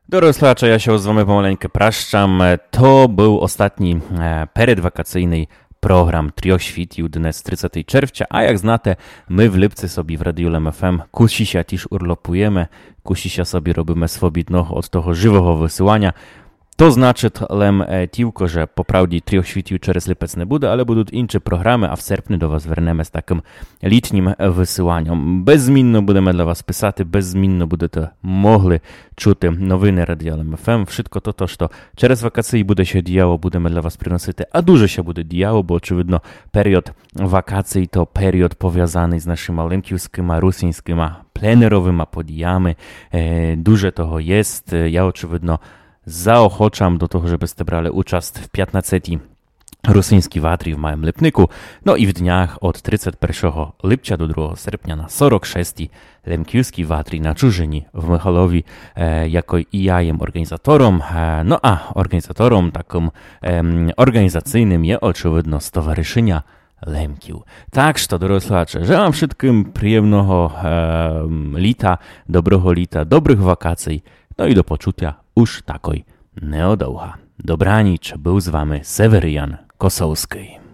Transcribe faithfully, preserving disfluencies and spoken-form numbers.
Дорогы слухаче, я ся з вами помаленьку пращам. Е, то быв остатній, е, передвакацийный програм Трьох Світів днес, тридцятого червця. А як знаєте, мы в липци собі в Радіо Лем ФМ кусі ся тіж урлопуєме, кусі ся собі робиме свобідного од того живого высыланя. То значыт лем, е, тілько, же по правді Трьох Світів через липец не буде, але будуть інші програмы, а в серпни до вас вернеме з такым літнім, е, высыланьом. Беззмінно будеме для вас писати, беззмінно будете могли чути новины Радіо Лем ФМ. Вшытко тото, што через вакації буде ся діяло, будеме для вас приносити. А дуже ся буде діяло, бо, очевидно, період вакацій то період повязаный з нашыма лемківскыма, русинськыма, пленеровыма подіями. Е, дуже того єст. Е, я, очевидно, заохочам до того, жебы сте брали участ в пятнадцятій русинській ватрі в моїм Липнику, но і в днях од тридцять першого липця до другого серпня на сорок шестій лемківскій ватрі на Чужині в Михалові, е, якой і я єм орґанізатором. Е, но а орґанізатором такым, ем, орґанізацийным є, очевидно, Стоваришыня Лемків. Так што, дорогы слухаче, желам вшыткым приємного, ем, літа, доброго літа, добрых вакацій, но і до почутя уж такой неодовга. Добраніч, быв з вами Севериян Косовскый.